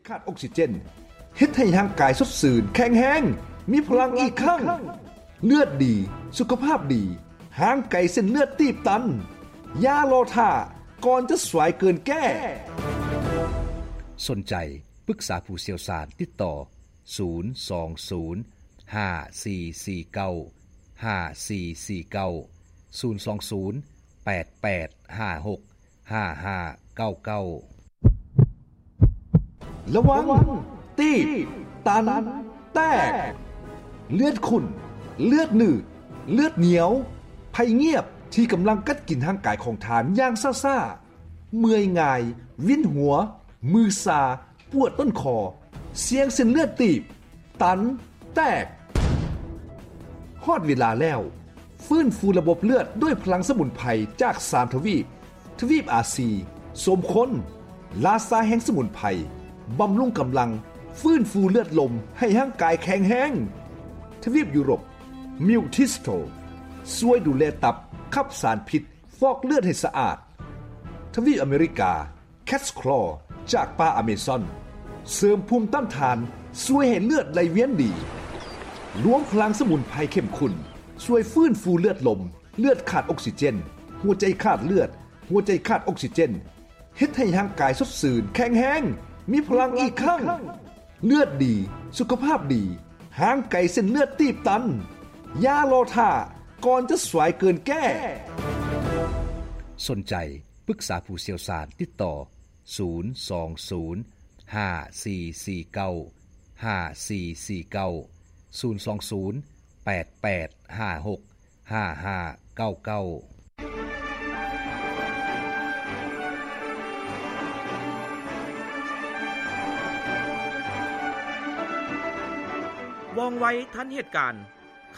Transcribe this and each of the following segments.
ຂາດອົກຊີເຈນ ເຮັດໃຫ້ຮ່າງກາຍສົດຊື່ນ, ແຂງແຮງ, ມີພະລັງອີກຄັ້ງ. ເລືອດດີ, ສຸຂະພາບດີ, ຫ່າງໄກເສັ້ນເລືອດຕີບຕັນ. ຢ່າລໍຖ້າ, ກ່ອນຈະສວາຍເກີນແກ້. ສົນໃຈປຶກສາຜູ້ຊ່ຽວຊານ, ຕິດຕໍ່ ສູນສອງສູນ ຫ້າສີ່ສີ່ເກົ້າ ຫ້າສີ່ສີ່ເກົ້າ, ສູນສອງສູນ ແປດແປດຫ້າຫົກ ຫ້າຫ້າເກົ້າເກົ້າ. ລະວັງ ຕີບ ຕັນ ແຕກ. ເລືອດຂຸ້ນ, ເລືອດໜືດ, ເລືອດໜຽວ, ໄພງຽບທີ່ກຳລັງກັດກິນຮ່າງກາຍຂອງທ່ານຢ່າງຊ້າໆ. ເມື່ອຍງ່າຍ, ວິນຫົວ, ມືຊາ, ປວດຕົ້ນຄໍ, ສ່ຽງເສັ້ນເລືອດຕີບ, ຕັນ, ແຕກ. ຮອດເວລາແລ້ວ, ຟື້ນຟູລະບົບເລືອດດ້ວຍພະລັງສະໝຸນໄພຈາກສາມທະວີບ, ທະວີບອາຊີ, ສົມຄົນ, ລາຊາແຫ່ງສະໝຸນໄພ, ບຳລຸງກຳລັງ, ຟື້ນຟູເລືອດລົມໃຫ້ຮ່າງກາຍແຂງແຮງ. ທະວີບຢູໂຣບ, ມິວທິສໂຕ, ຊ່ວຍດູແລຕັບ, ຂັບສານພິດ, ຟອກເລືອດໃຫ້ສະອາດ. ທະວີບອາເມລິກາ, ແຄດສະຄລໍຈາກປ່າອາເມຊອນ ເສີມພູມຕ້ານທານ, ຊ່ວຍໃຫ້ເລືອດໄຫຼວຽນດີ. ລວມພະລັງສະໝຸນໄພເຂັ້ມຂຸ້ນ, ຊ່ວຍຟື້ນຟູເລືອດລົມ, ເລືອດຂາດອົກຊີເຈນ, ຫົວໃຈຂາດເລືອດ, ຫົວໃຈຂາດອົກຊີເຈນ, ເຮັດໃຫ້ຮ່າງກາຍສົດຊື່ນ, ແຂງແຮງ, ມີພະລັງອີກຄັ້ງ. ເລືອດດີ, ສຸຂະພາບດີ, ຫ່າງໄກເສັ້ນເລືອດຕີບຕັນ. ຢ່າລໍຖ້າ, ກ່ອນຈະສວາຍເກີນແກ້. ສົນໃຈປຶກສາຜູ້ຊ່ຽວຊານ, ຕິດຕໍ່ ສູນສອງສູນ ຫ້າສີ່ສີ່ເກົ້າ ຫ້າສີ່ສີ່ເກົ້າ, ສູນສອງສູນ ແປດແປດຫ້າຫົກ ຫ້າຫ້າເກົ້າເກົ້າ. ວ່ອງໄວທັນເຫດການ,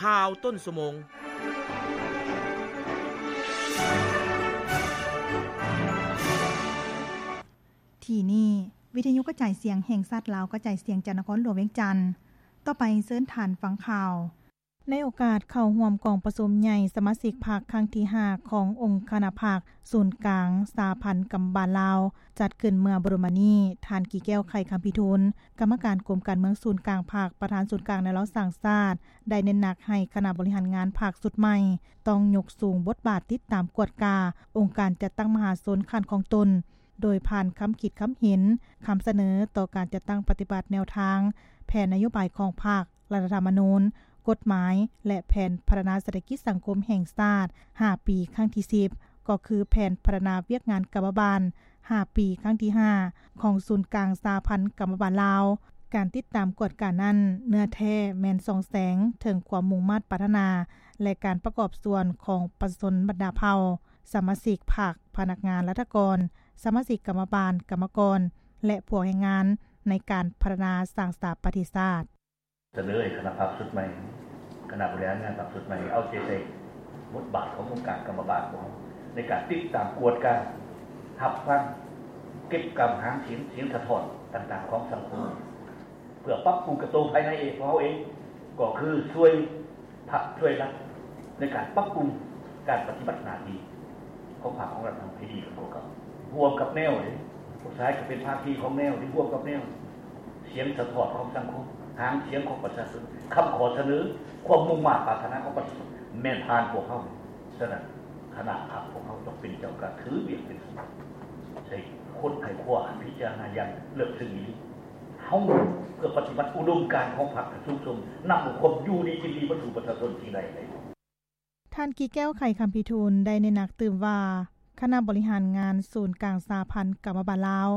ຂ່າວຕົ້ນຊົ່ວໂມງ. ທີ່ນີ້ ວິທະຍຸກະຈາຍສຽງແຫ່ງຊາດລາວ ກະຈາຍສຽງຈາກນະຄອນຫຼວງວຽງຈັນ. ຕໍ່ໄປເຊີນທ່ານຟັງຂ່າວ. ໃນໂອກາດເຂົ້າຮ່ວມກອງປະຊຸມໃຫຍ່ສະມາຊິກພັກຄັ້ງທີຫ້າຂອງອົງຄະນະພັກສູນກາງສະຫະພັນກຳມະບານລາວ ຈັດຂຶ້ນເມື່ອບໍ່ດົນມານີ້, ທ່ານ ກີແກ້ວ ໄຂຄຳພິທູນ ກຳມະການກົມການເມືອງສູນກາງພັກ ປະທານສູນກາງແນວລາວສ້າງຊາດ ໄດ້ເນັ້ນໜັກໃຫ້ຄະນະບໍລິຫານງານພັກຊຸດໃໝ່ ຕ້ອງຍົກສູງບົດບາດຕິດຕາມກວດກາອົງການຈັດຕັ້ງມະຫາຊົນຂັ້ນຂອງຕົນ, ໂດຍຜ່ານຄຳຄິດຄຳເຫັນ, ຄຳສະເໜີຕໍ່ການຈັດຕັ້ງປະຕິບັດແນວທາງ, ແຜນນະໂຍບາຍຂອງພັກ, ລັດຖະທຳມະນູນ, ກົດໝາຍ ແລະ ແຜນພັດທະນາເສດຖະກິດສັງຄົມແຫ່ງຊາດຫ້າປີຄັ້ງທີສິບ ກໍຄືແຜນພັດທະນາວຽກງານກຳມະບານຫ້າປີຄັ້ງທີຫ້າ ຂອງສູນກາງສະຫະພັນກຳມະບານລາວ. ການຕິດຕາມກວດການັ້ນ ເນື້ອແທ້ແມ່ນສ່ອງແສງເຖິງຄວາມມຸ່ງມາດປາດຖະໜາ ແລະ ການປະກອບສ່ວນຂອງປະຊາຊົນບັນດາເຜົ່າ, ສະມາຊິກພັກ, ພະນັກງານລັດຖະກອນ, ສະມາຊິກກຳມະບານ, ກຳມະກອນ ແລະ ພວກແຮງງານ ໃນການພັດທະນາສ້າງສາປະເທດຊາດ. ສະເໜີໃຫ້ຄະນະພັກຊຸດໃໝ່, ຄະນະບໍລິຫານງານພັກຊຸດໃໝ່ ເອົາໃຈໃສ່ບົດບາດຂອງອົງການກຳມະບານຂອງເຮົາ ໃນການຕິດຕາມກວດກາ, ຮັບຟັງ, ເກັບກຳຫາງສຽງ, ສຽງສະທ້ອນຕ່າງໆຂອງສັງຄົມ ເພື່ອປັບປຸງກະໂຕພາຍໃນເອງ ຂອງເຮົາເອງ, ກໍຄືຊ່ວຍ ພັກຊ່ວຍລັດໃນການປັບປຸງການປະຕິບັດໜ້າທີ່ຂອງພັກຂອງລັດເຮົາໃຫ້ດີຂຶ້ນກວ່າເກົ່າ, ຮ່ວມກັບແນວເດ້, ພວກຊາຍກໍເປັນພາຄີຂອງແນວທີ່ຮ່ວມກັບແນວ, ສຽງສະທ້ອນຂອງສັງຄົມ, ຫາງສຽງຂອງປະຊາຊົນ, ຄຳຂໍສະເໜີ, ຄວາມມຸ່ງມາດປາດຖະໜາຂອງປະຊາຊົນ ແມ່ນຜ່ານພວກເຮົາ. ສະນັ້ນ ຄະນະພັກຂອງເຮົາຕ້ອງເປັນເຈົ້າການ, ຖືວຽກເປັນສົມບັດ, ໃຊ້ຄົ້ນໄຂຄວ້າ, ພິຈາລະນາຢ່າງເລິກເຊິ່ງອີ່ຫຼີ. ເຮົາເພື່ອປະຕິບັດອຸດົມການຂອງພັກໃຫ້ສູງສົ່ງ, ນຳເອົາຄວາມຢູ່ດີກິນດີມາສູ່ປະຊາຊົນທີ່ໄດ້. ທ່ານ ກີແກ້ວ ໄຂຄຳພິທູນ ໄດ້ເນັ້ນໜັກຕື່ມວ່າ ຄະນະບໍລິຫານງານສູນກາງສະຫະພັນກຳມະບານລາວ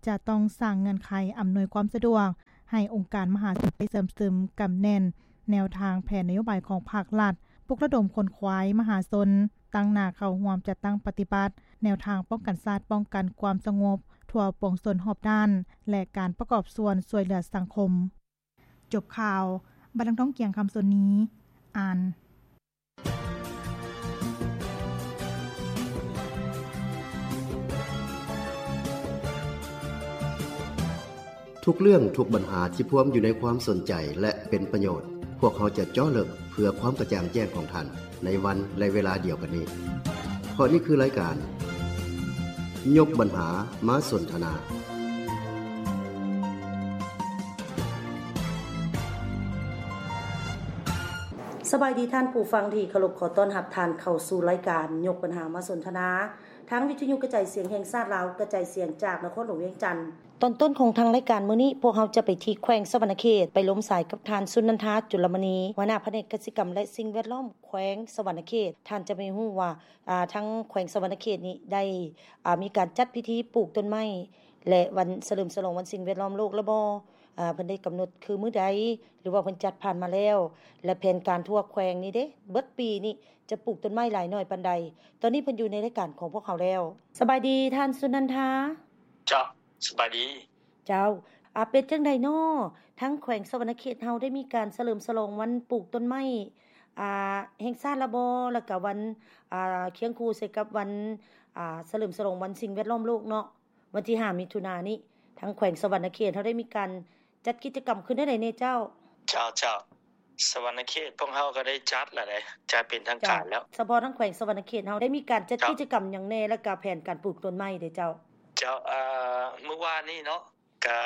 ຈະຕ້ອງສ້າງເງື່ອນໄຂອຳນວຍຄວາມສະດວກໃຫ້ອົງການມະຫາຊົນໄດ້ເຊື່ອມຊຶມ, ກຳແໜ້ນແນວທາງແຜນນະໂຍບາຍຂອງພັກລັດ, ປຸກລະດົມຂົນຂວາຍມະຫາຊົນ ຕັ້ງໜ້າເຂົ້າຮ່ວມຈັດຕັ້ງປະຕິບັດແນວທາງປ້ອງກັນຊາດ, ປ້ອງກັນຄວາມສະຫງົບທົ່ວປວງຊົນຮອບດ້ານ ແລະ ການປະກອບສ່ວນຊ່ວຍເຫຼືອສັງຄົມ. ຈົບຂ່າວ, ບັດດັງທອງ ກຽງຄຳ ສົນນີ ອ່ານ. ທຸກເລື່ອງ, ທຸກບັນຫາທີ່ພວມຢູ່ໃນຄວາມສົນໃຈ ແລະ ເປັນປະໂຫຍດ, ພວກເຮົາຈະເຈາະເລິກເພື່ອຄວາມກະຈ່າງແຈ້ງຂອງທ່ານ ໃນວັນ ແລະ ເວລາດຽວກັນນີ້. ເພາະນີ້ຄືລາຍການ ຍົກບັນຫາມາສົນທະນາ. ສະບາຍດີທ່ານຜູ້ຟັງທີ່ເຄົາລົບ, ຂໍຕ້ອນຮັບທ່ານເຂົ້າສູ່ລາຍການຍົກບັນຫາມາສົນທະນາ ທາງວິທະຍຸກະຈາຍສຽງແຫ່ງຊາດລາວ ກະຈາຍສຽງຈາກນະຄອນຫຼວງວຽງຈັນ. ຕອນຕົ້ນຂອງທາງລາຍການມື້ນີ້, ພວກເຮົາຈະໄປທີ່ແຂວງສະຫວັນນະເຂດ ໄປລົມສາຍກັບທ່ານ ສຸນນັນທາ ຈຸລະມະນີ ຫົວໜ້າພະແນກກະສິກຳ ແລະ ສິ່ງແວດລ້ອມແຂວງສະຫວັນນະເຂດ. ທ່ານຈະໄປຮູ້ວ່າ ອາ ທາງແຂວງສະຫວັນນະເຂດນີ້ໄດ້ ອາ ມີການຈັດພິທີປູກຕົ້ນໄມ້ ແລະ ວັນສະເຫຼີມສະຫຼອງວັນສິ່ງແວດລ້ອມໂລກແລ້ວບໍ່? ອາ ເພິ່ນໄດ້ກຳນົດຄືມື້ໃດ ຫຼືວ່າເພິ່ນຈັດຜ່ານມາແລ້ວ? ແລະ ແຜນການທົ່ວແຂວງນີ້ເດ ເບິດປີນີ້ຈະປູກຕົ້ນໄມ້ຫຼາຍໜ້ອຍປານໃດ? ຕອນນີ້ເພິ່ນຢູ່ໃນລາຍການຂອງພວກເຮົາແລ້ວ. ສະບາຍດີທ່ານ ສຸນັນທາ. ເຈົ້າ, ສະບາຍດີ. ເຈົ້າ, ອາ ເປັນຈັ່ງໃດນໍ? ທາງແຂວງສະຫວັນນະເຂດເຮົາໄດ້ມີການສະເຫຼີມສະຫຼອງວັນປູກຕົ້ນໄມ້ ອາ ແຫ່ງຊາດລະບໍ່? ແລ້ວກະວັນ ອາ ຄຽງຄູ່ໃສ່ກັບວັນ ອາ ສະເຫຼີມສະຫຼອງວັນສິ່ງແວດລ້ອມໂລກເນາະ ວັນທີຫ້າ ມິຖຸນານີ້ ທາງແຂວງສະຫວັນນະເຂດເຮົາໄດ້ມີການຈັດກິດຈະກຳຂຶ້ນແນວໃດແດ່ເຈົ້າ? ເຈົ້າ, ເຈົ້າ. ສະຫວັນນະເຂດພວກເຮົາກໍໄດ້ຈັດລະເດ ຈັດເປັນທາງການແລ້ວ. ສະເພາະທາງແຂວງສະຫວັນນະເຂດເຮົາໄດ້ມີການຈັດກິດຈະກຳຫຍັງແດ່ ແລ້ວກະແຜນການປູກຕົ້ນໄມ້ເດເຈົ້າ? ເຈົ້າ, ເອີ ມື້ວານນີ້ເນາະ ກະ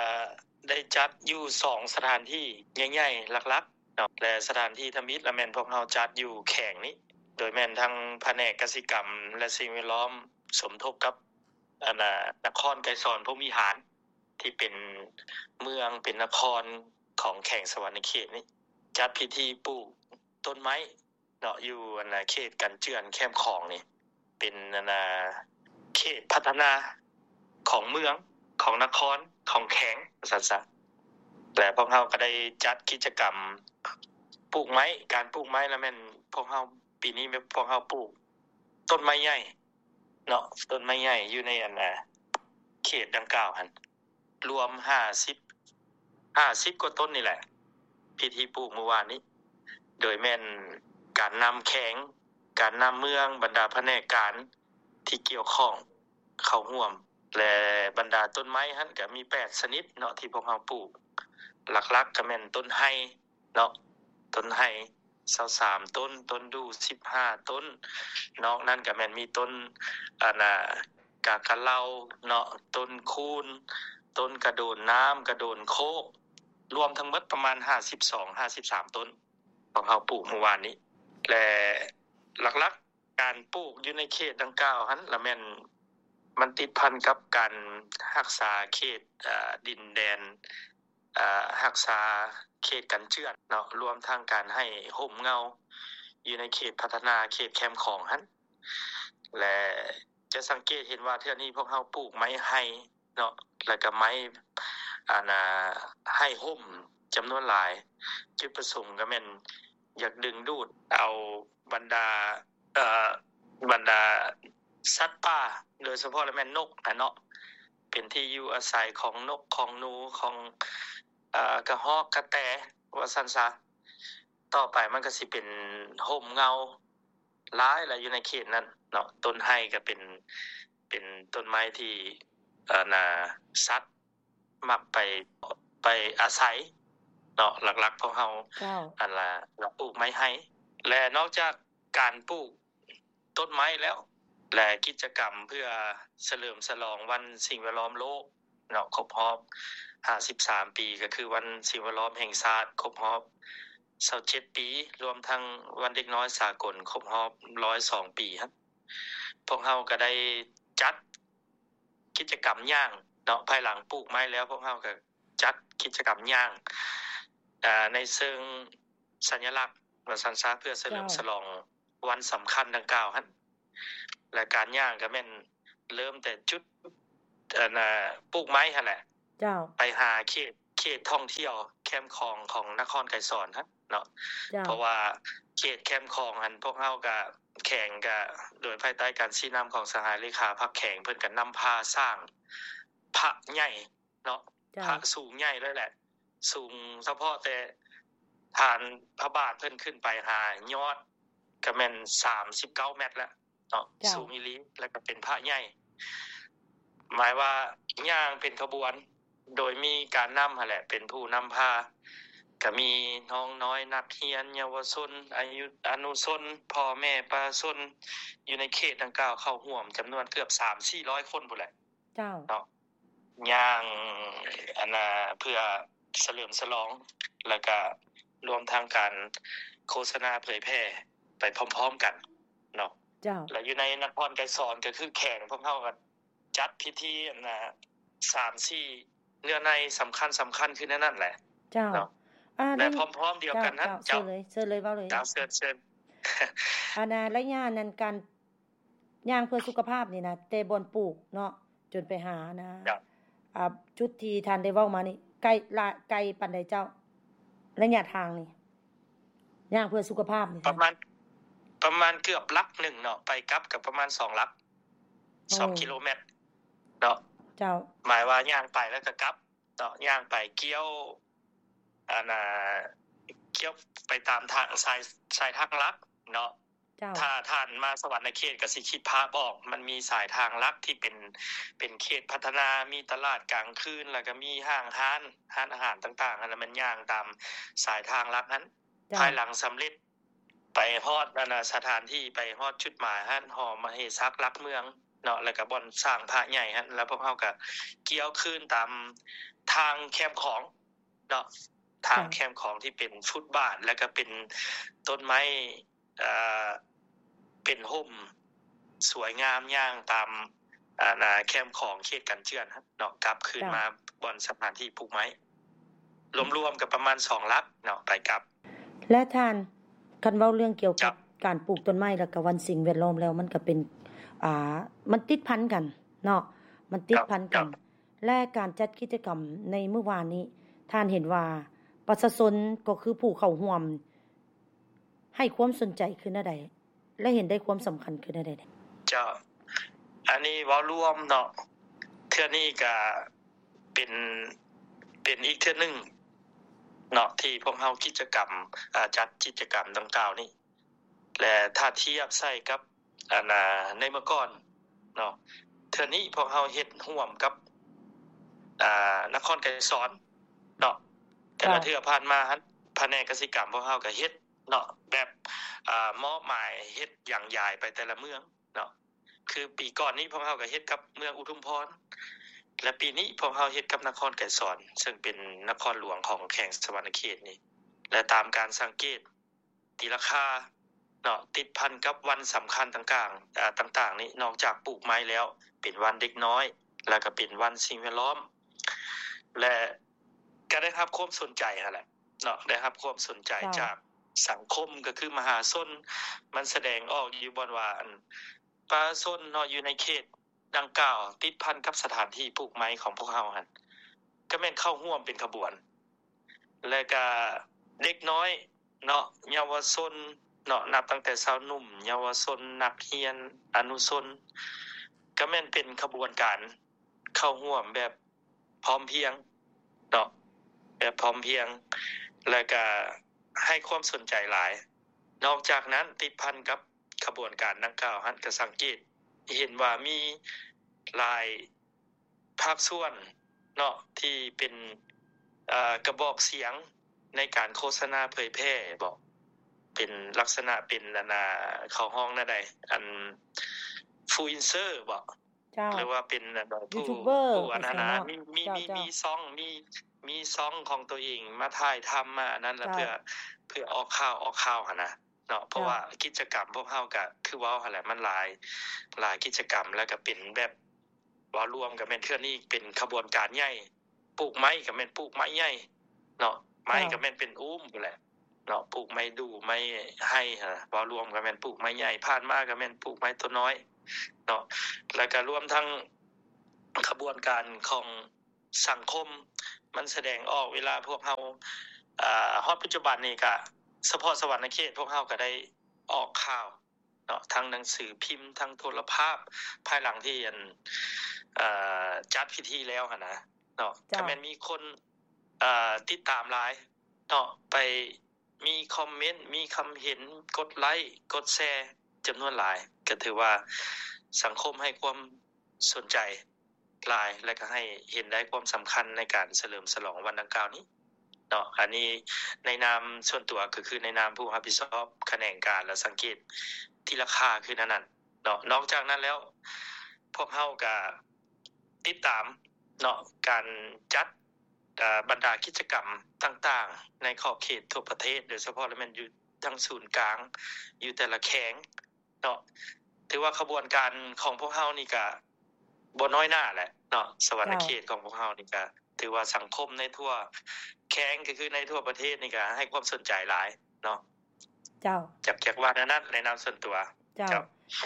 ໄດ້ຈັດຢູ່ສອງສະຖານທີ່ໃຫຍ່ໆ ຫຼັກໆເນາະ ແລະ ສະຖານທີ່ທຳອິດລະແມ່ນພວກເຮົາຈັດຢູ່ແຂວງນີ້ ໂດຍແມ່ນທັງພະແນກກະສິກຳ ແລະ ສິ່ງແວດລ້ອມ ສົມທົບກັບ ອັນນະ ນະຄອນໄກສອນພົມວິຫານ ທີ່ເປັນເມືອງ ເປັນນະຄອນຂອງແຂວງສະຫວັນນະເຂດນີ້ ຈັດພິທີປູກຕົ້ນໄມ້ ເນາະ ຢູ່ອັນນະເຂດກັນເຈື່ອນແຄມຂອງນີ້ ເປັນອັນນະເຂດພັດທະນາຂອງເມືອງ ຂອງນະຄອນ ຂອງແຂວງ ວ່າຊັ້ນຊະ. ແລະ ພວກເຮົາກໍໄດ້ຈັດກິດຈະກຳປູກໄມ້ ການປູກໄມ້ລະແມ່ນພວກເຮົາ ປີນີ້ແມ່ນພວກເຮົາປູກຕົ້ນໄມ້ໃຫຍ່ເນາະ ຕົ້ນໄມ້ໃຫຍ່ຢູ່ໃນອັນນະເຂດດັ່ງກ່າວຫັ້ນ ລວມຫ້າສິບ ຫ້າສິບກວ່າຕົ້ນນີ້ແຫຼະ ພິທີປູກມື້ວານນີ້ ໂດຍແມ່ນການນຳແຂວງ ການນຳເມືອງ ບັນດາພະແນກການທີ່ກ່ຽວຂ້ອງເຂົ້າຮ່ວມ ແລະ ບັນດາຕົ້ນໄມ້ຫັ້ນກະມີແປດຊະນິດເນາະ ທີ່ພວກເຮົາປູກ ຫຼັກໆກະແມ່ນຕົ້ນໄຮ ເນາະ ຕົ້ນໄຮຊາວສາມຕົ້ນ, ຕົ້ນດູ່ສິບຫ້າຕົ້ນ, ນອກນັ້ນກະແມ່ນມີຕົ້ນ ອັນນາ ກາກະເລົາເນາະ, ຕົ້ນຄູນ, ຕົ້ນກະໂດນນ້ຳ, ກະໂດນໂຄກ, ລວມທັງໝົດປະມານຫ້າສິບສອງ ຫ້າສິບສາມຕົ້ນ ຂອງເຮົາປູກມື້ວານນີ້ ແລະ ຫຼັກໆ ການປູກຢູ່ໃນເຂດດັ່ງກ່າວຫັ້ນລະແມ່ນ ມັນຕິດພັນກັບການຮັກສາເຂດ ເອີ ດິນແດນ ເອີ ຮັກສາເຂດກັນເຈື່ອນເນາະ, ລວມທັງການໃຫ້ຮົ່ມເງົາຢູ່ໃນເຂດພັດທະນາເຂດແຄມຂອງຫັ້ນ ແລະ ຈະສັງເກດເຫັນວ່າເທື່ອນີ້ພວກເຮົາປູກໄມ້ໄຮ ເນາະ ແລ້ວກະໄມ້ ອັນນາ ໃຫ້ຮົ່ມຈຳນວນຫຼາຍ. ຈຸດປະສົງກະແມ່ນຢາກດຶງດູດເອົາບັນດາ ເອີ ບັນດາສັດປ່າ ໂດຍສະເພາະລະແມ່ນນົກຫັ້ນເນາະ ເປັນທີ່ຢູ່ອາໄສຂອງນົກ ຂອງໜູ ຂອງ ເອີ ກະຮອກ ກະແຕ ວ່າຊັ້ນຊະ. ຕໍ່ໄປມັນກະຊິເປັນຮົ່ມເງົາ ຫຼາຍລະຢູ່ໃນເຂດນັ້ນເນາະ. ຕົ້ນໄຮກະເປັນ ເປັນຕົ້ນໄມ້ທີ່ ອັນນາ ສັດມັກໄປ ໄປອາໄສເນາະ. ຫຼັກໆພວກເຮົາ ເຈົ້າ ອັນລະ ລະປູກໄມ້ໄຮ ແລະ ນອກຈາກການປູກຕົ້ນໄມ້ແລ້ວ ແລະ ກິດຈະກຳເພື່ອສະເຫຼີມສະຫຼອງວັນສິ່ງແວດລ້ອມໂລກ ເນາະ ຄົບຮອບຫ້າສິບສາມປີ ກະຄືວັນສິ່ງແວດລ້ອມແຫ່ງຊາດຄົບຮອບຊາວເຈັດປີ ລວມທັງວັນເດັກນ້ອຍສາກົນຄົບຮອບຮ້ອຍສອງປີຫັ້ນ ພວກເຮົາກະໄດ້ຈັດກິດຈະກຳຍ່າງເນາະ. ພາຍຫຼັງປູກໄມ້ແລ້ວ ພວກເຮົາກະຈັດກິດຈະກຳຍ່າງ ອາ ໃນເຊີງສັນຍະລັກ ວ່າຊັ້ນຊະ ເພື່ອສະເຫຼີມ ເຈົ້າ ສະຫຼອງ ວັນສຳຄັນດັ່ງກ່າວຫັ້ນ ແລະ ການຍ່າງກະແມ່ນເລີ່ມແຕ່ຈຸດ ອັນນາ ປູກໄມ້ຫັ້ນແຫຼະ ເຈົ້າ ໄປຫາເຂດ ເຂດທ່ອງທ່ຽວແຄມຂອງ ຂອງນະຄອນໄກສອນຫັ້ນເນາະ ເຈົ້າ ເພາະວ່າເຂດແຄມຂອງຫັ້ນ ພວກເຮົາກະ ແຂວງກະໂດຍພາຍໃຕ້ການຊີ້ນຳຂອງສະຫາຍເລຂາພັກແຂວງ ເພິ່ນກະນຳພາສ້າງພະໃຫຍ່ ເນາະ ເຈົ້າ ພະສູງໃຫຍ່ເລີຍແຫຼະ ສູງສະເພາະແຕ່ຖານພະບາດເພິ່ນຂຶ້ນໄປຫາຍອດກະແມ່ນສາມສິບເກົ້າແມັດແລ້ວເນາະ ເຈົ້າ ສູງອີ່ຫຼີ ແລ້ວກະເປັນພະໃຫຍ່ ໝາຍວ່າຍ່າງເປັນຂະບວນ ໂດຍມີການນຳຫັ້ນແຫຼະເປັນຜູ້ນຳພາ ກະມີນ້ອງນ້ອຍ ນັກຮຽນ ເຍົາວະຊົນ ອາຍຸ ອະນຸຊົນ ພໍ່ແມ່ປະຊາຊົນ ຢູ່ໃນເຂດດັ່ງກ່າວເຂົ້າຮ່ວມຈຳນວນເກືອບສາມສີ່ຮ້ອຍຄົນພຸ້ນແຫຼະ ເຈົ້າ ເນາະ ຍ່າງ ອັນນາ ເພື່ອສະເຫຼີມສະຫຼອງ ແລ້ວກະລວມທັງການ ໂຄສະນາເຜີຍແຜ່ໄປພ້ອມໆກັນເນາະ. ເຈົ້າ. ແລ້ວຢູ່ໃນນະຄອນໄກສອນ ກໍຄືແຂວງພວກເຮົາກໍຈັດພິທີອັນນ່າ ສາມສີ່ ເນື້ອໃນສຳຄັນໆ ຄືແນວນັ້ນແຫຼະ. ເຈົ້າ. ເນາະ. ອາ ແລະ ໃນ ພ້ອມໆດຽວກັນນັ້ນ ເຈົ້າ ເຈົ້າ ເຊີນເລີຍ ເຊີນເລີຍ ເວົ້າເລີຍ. ເຈົ້າ ເຊີນ ເຊີນ. ອັນນ່າ ໄລຍະນັ້ນ ການຍ່າງເພື່ອສຸຂະພາບນີ້ນະ ແຕ່ບ່ອນປູກເນາະ ຈົນໄປຫານະ ເຈົ້າ. ອ່າ ຈຸດທີ່ທ່ານໄດ້ເວົ້າມານີ້ ໄກ ລະ ໄກປານໃດເຈົ້າ ໄລຍະທາງນີ້ ຍ່າງເພື່ອສຸຂະພາບນີ້? ປະມານ ປະມານເກືອບຫຼັກໜຶ່ງເນາະ ໄປກັບກໍປະມານສອງຫຼັກ ໂອ້ ສອງກິໂລແມັດເນາະ. ເຈົ້າ. ໝາຍວ່າຍ່າງໄປແລ້ວກໍກັບເນາະ ຍ່າງໄປກ່ຽວ ອັນນ່າ ກ່ຽວໄປຕາມທາງ ສາຍ ສາຍທາງຫຼັກເນາະ. ເຈົ້າ. ຖ້າທ່ານມາສະຫວັນນະເຂດກໍຊິຄິດພາບອອກ ມັນມີສາຍທາງຫຼັກທີ່ເປັນ ເປັນເຂດພັດທະນາ ມີຕະຫຼາດກາງຄືນ ແລ້ວກໍມີຫ້າງຮ້ານ ຮ້ານອາຫານຕ່າງໆ ຫັ້ນນະ ແມ່ນຍ່າງຕາມສາຍທາງຫຼັກຫັ້ນ. ເຈົ້າ. ພາຍຫຼັງສຳເລັດ ໄປຮອດອັນນ່າ ສະຖານທີ່ ໄປຮອດຈຸດໝາຍຫັ້ນ ຫໍມະເຫສັກຫຼັກເມືອງເນາະ ແລ້ວກໍບ່ອນສ້າງພະໃຫຍ່ຫັ້ນ ແລ້ວພວກເຮົາກໍກ່ຽວຄືນຕາມທາງແຄມຂອງເນາະ ທາງ ເຈົ້າ ແຄມຂອງທີ່ເປັນຟຸດບາດ ແລ້ວກໍເປັນຕົ້ນໄມ້ ເອີ ເປັນຮົ່ມສວຍງາມ ຍ່າງຕາມ ອັນນ່າ ແຄມຂອງເຂດກັນເຈື່ອນເນາະ ກັບຄືນ ເຈົ້າ ມາບ່ອນສະຖານທີ່ປູກໄມ້ ລວມໆກໍປະມານສອງຫຼັກເນາະ ໄປກັບ. ແລະທ່ານ ຄັນເວົ້າເລື່ອງກ່ຽວກັບ ເຈົ້າ ການປູກຕົ້ນໄມ້ ແລ້ວກໍວັນສິ່ງແວດລ້ອມແລ້ວ ມັນກໍເປັນ ອ່າ ມັນຕິດພັນກັນເນາະ ມັນຕິດ ເຈົ້າ ພັນກັນ. ເຈົ້າ. ແລະການຈັດກິດຈະກຳໃນມື້ວານນີ້ ທ່ານເຫັນວ່າປະຊາຊົນ ກໍຄືຜູ້ເຂົ້າຮ່ວມ ໃຫ້ຄວາມສົນໃຈຄືແນວໃດ ແລະເຫັນໄດ້ຄວາມສຳຄັນຄືແນວໃດ? ເຈົ້າ. ອັນນີ້ເວົ້າລວມເນາະ ເທື່ອນີ້ກະເປັນ ເປັນອີກເທື່ອໜຶ່ງເນາະ ທີ່ພວກເຮົາກິດຈະກຳ ອາ ຈັດກິດຈະກຳດັ່ງກ່າວນີ້ ແລະຖ້າທຽບໃສ່ກັບ ອັນ ອາ ໃນເມື່ອກ່ອນເນາະ ເທື່ອນີ້ພວກເຮົາເຮັດຮ່ວມກັບ ອາ ນະຄອນໄກສອນເນາະ ແຕ່ລະ ເຈົ້າ ເທື່ອຜ່ານມາຫັ້ນ ພະແນກກະສິກຳພວກເຮົາກະເຮັດ ເນາະ ແບບ ອາ ມອບໝາຍເຮັດຢາງຢາຍໄປແຕ່ລະເມືອງເນາະ ຄືປີກ່ອນນີ້ພວກເຮົາກໍເຮັດກັບເມືອງອຸທຸມພອນ ແລະປີນີ້ພວກເຮົາເຮັດກັບນະຄອນໄກສອນ ເຊິ່ງເປັນນະຄອນຫຼວງຂອງແຂວງສະຫວັນນະເຂດນີ້ ແລະຕາມການສັງເກດຕີລາຄາເນາະ ຕິດພັນກັບວັນສຳຄັນຕ່າງໆ ອາ ຕ່າງໆນີ້ ນອກຈາກປູກໄມ້ແລ້ວ ເປັນວັນເດັກນ້ອຍ ແລ້ວກໍເປັນວັນສິ່ງແວດລ້ອມ ແລະກໍໄດ້ຮັບຄວາມສົນໃຈຫັ້ນແຫຼະ ເນາະ ໄດ້ຮັບຄວາມສົນໃຈ ເຈົ້າ ຈາກສັງຄົມ ກໍຄືມະຫາຊົນ ມັນສະແດງອອກຢູ່ບ່ອນວ່າ ອັນ ປະຊາຊົນເນາະ ຢູ່ໃນເຂດດັ່ງກ່າວ ຕິດພັນກັບສະຖານທີ່ປູກໄມ້ຂອງພວກເຮົາຫັ້ນ ກໍແມ່ນເຂົ້າຮ່ວມເປັນຂະບວນ ແລະກະເດັກນ້ອຍເນາະ ເຍົາວະຊົນເນາະ ນັບຕັ້ງແຕ່ຊາວໜຸ່ມ ເຍົາວະຊົນ ນັກຮຽນ ອະນຸຊົນ ກໍແມ່ນເປັນຂະບວນການເຂົ້າຮ່ວມແບບ ພ້ອມພຽງເນາະ ແບບພ້ອມພຽງ ແລ້ວກະໃຫ້ຄວາມສົນໃຈຫຼາຍ. ນອກຈາກນັ້ນ ຕິດພັນກັບຂະບວນການດັ່ງກ່າວຫັ້ນ ກະສັງເກດເຫັນວ່າມີຫຼາຍພາກສ່ວນເນາະ ທີ່ເປັນ ເອີ ກະບອກສຽງໃນການໂຄສະນາເຜີຍແຜ່ບໍ ເປັນລັກສະນະເປັນ ອັນນ່າ ເຂົາຮ້ອງແນວໃດ ອັນ ອິນຟລູເອັນເຊີບໍ ເຈົ້າ ຫຼືວ່າເປັນ ອັນ ຢູທູບເບີ ຜູ້ ອັນນັ້ນນະ ມີ ມີ ເຈົ້າ ມີ ເຈົ້າ ມີຊ່ອງ ມີ ມີຊ່ອງຂອງຕົວເອງມາຖ່າຍທຳມາອັນນັ້ນ ແລ້ວ ເຈົ້າ ເພື່ອ ເພື່ອອອກຂ່າວ ອອກຂ່າວຫັ້ນນະເນາະ ເພາະ ເຈົ້າ ວ່າກິດຈະກຳພວກເຮົາກະຄືເວົ້າຫັ້ນແຫຼະ ມັນຫຼາຍ ຫຼາຍກິດຈະກຳ ແລ້ວກະເປັນແບບ ເວົ້າລວມກະແມ່ນເທື່ອນີ້ເປັນຂະບວນການໃຫຍ່ ປູກໄມ້ກະແມ່ນປູກໄມ້ໃຫຍ່ເນາະ ໄມ້ ເຈົ້າ ກະແມ່ນເປັນອູ້ມພຸ້ນແຫຼະ ເນາະ ປູກໄມ້ດູ່ໄມ້ໄຮຫັ້ນນະ ເວົ້າລວມກະແມ່ນປູກໄມ້ໃຫຍ່ ຜ່ານມາກະແມ່ນປູກໄມ້ຕົວນ້ອຍເນາະ ແລ້ວກະລວມທັງຂະບວນການຂອງສັງຄົມ ມັນສະແດງອອກເວລາພວກເຮົາ ອາ ຮອດປັດຈຸບັນນີ້ກະສະເພາະສະຫວັນນະເຂດ ພວກເຮົາກະໄດ້ອອກຂ່າວ ເນາະ ທັງໜັງສືພິມ ທັງໂທລະພາບ ພາຍຫຼັງທີ່ ອັນ ເອີ ຈັດພິທີແລ້ວຫັ້ນນະເນາະ ເຈົ້າ ກະແມ່ນມີຄົນ ເອີ ຕິດຕາມຫຼາຍເນາະ ໄປມີຄອມເມັນ ມີຄຳເຫັນ ກົດໄລ້ ກົດແຊ ຈຳນວນຫຼາຍ ກະຖືວ່າສັງຄົມໃຫ້ຄວາມສົນໃຈ ຫຼາຍ ແລະກະໃຫ້ເຫັນໄດ້ຄວາມສຳຄັນໃນການສະເຫຼີມສະຫຼອງວັນດັ່ງກ່າວນີ້ເນາະ ອັນນີ້ໃນນາມສ່ວນຕົວ ກໍຄືໃນນາມຜູ້ຮັບຜິດຊອບຂະແໜງການ ແລະ ສັງເກດທີ່ລາຄາຄືແນວນັ້ນເນາະ ນອກຈາກນັ້ນແລ້ວ ພວກເຮົາກະຕິດຕາມເນາະ ການຈັດ ເອີ ບັນດາກິດຈະກຳຕ່າງໆ ໃນຂອບເຂດທົ່ວປະເທດ ໂດຍສະເພາະລະແມ່ນຢູ່ ທັງສູນກາງຢູ່ແຕ່ລະແຂວງເນາະ. ຖືວ່າຂະບວນການຂອງພວກເຮົານີ້ກະບໍ່ນ້ອຍໜ້າແຫຼະເນາະ, ສະຫວັນນະເຂດຂອງພວກເຮົານີ້ກະຖືວ່າສັງຄົມໃນທົ່ວແຂວງ ກໍຄືໃນທົ່ວປະເທດນີ້ກະໃຫ້ຄວາມສົນໃຈຫຼາຍເນາະ. ເຈົ້າ ຢາກ ຢາກວ່າແນວນັ້ນໃນນາມສ່ວນຕົວ. ເຈົ້າ ເຈົ້າ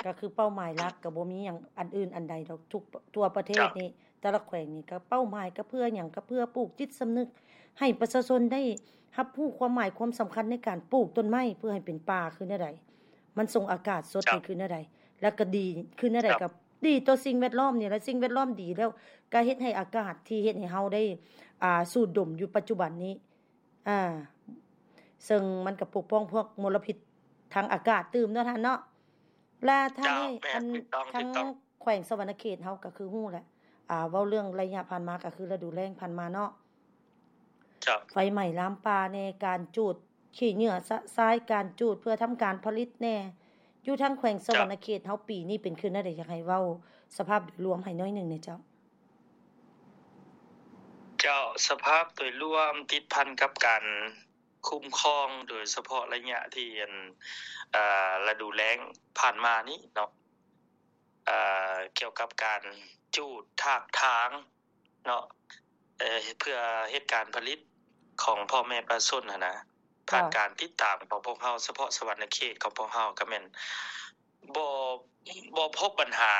ກໍຄືເປົ້າໝາຍຫຼັກກໍບໍ່ມີຫຍັງອັນອື່ນອັນໃດດອກ ທຸກ ທົ່ວປະເທດນີ້ ເຈົ້າ ແຕ່ລະແຂວງນີ້ກໍເປົ້າໝາຍກໍເພື່ອຫຍັງ? ກໍເພື່ອປູກຈິດສຳນຶກໃຫ້ປະຊາຊົນໄດ້ຮັບຮູ້ຄວາມໝາຍຄວາມສຳຄັນໃນການປູກຕົ້ນໄມ້ ເພື່ອໃຫ້ເປັນປ່າຄືແນວໃດ, ມັນສົ່ງອາກາດສົດ ເຈົ້າ ໃຫ້ຄືແນວໃດ ແລ້ວກໍດີຄືແນວໃດ ເຈົ້າ ກໍດີຕໍ່ສິ່ງແວດລ້ອມນີ້ແຫຼະ. ສິ່ງແວດລ້ອມດີແລ້ວ ກໍເຮັດໃຫ້ອາກາດທີ່ເຮັດໃຫ້ເຮົາໄດ້ ອ່າ ສູດດົມຢູ່ປັດຈຸບັນນີ້ ອ່າ ເຊິ່ງມັນກໍປົກປ້ອງພວກມົນລະພິດທາງອາກາດຕື່ມເນາະທ່ານເນາະ. ແລະທ່ານ ເຈົ້າ ເອີຍ ແມ່ນ ອັນ ຖືກຕ້ອງ ທາງ ຖືກຕ້ອງ ແຂວງສະຫວັນນະເຂດເຮົາກໍຄືຮູ້ແຫຼະ ອ່າ ເວົ້າເລື່ອງໄລຍະຜ່ານມາກໍຄືລະດູແລ້ງຜ່ານມາເນາະ. ເຈົ້າ ໄຟໄໝ້ລາມປ່າແດ່, ການຈູດຂີ້ເຫຍື້ອຊະຊາຍ, ການຈູດເພື່ອທຳການຜະລິດແດ່ ຢູ່ທາງແຂວງສະຫວັນນະເຂດເຮົາ ເຈົ້າ ປີນີ້ເປັນຄືແນວໃດ? ຢາກໃຫ້ເວົ້າສະພາບໂດຍລວມໃຫ້ໜ້ອຍໜຶ່ງແດ່ເຈົ້າ. ເຈົ້າ ສະພາບໂດຍລວມຕິດພັນກັບການຄຸ້ມຄອງ ໂດຍສະເພາະໄລຍະທີ່ ອັນ ເອີ ລະດູແລ້ງຜ່ານມານີ້ເນາະ ເອີ ກ່ຽວກັບການຈູດຖາກຖາງເນາະ ເອີ ເພື່ອເຮັດການຜະລິດຂອງພໍ່ແມ່ປະຊາຊົນຫັ້ນນະ. ຜ່ານ ເຈົ້າ ການຕິດຕາມຂອງພວກເຮົາ ສະເພາະສະຫວັນນະເຂດຂອງພວກເຮົາ ກໍແມ່ນບໍ່ ບໍ່ພົບບັນຫາ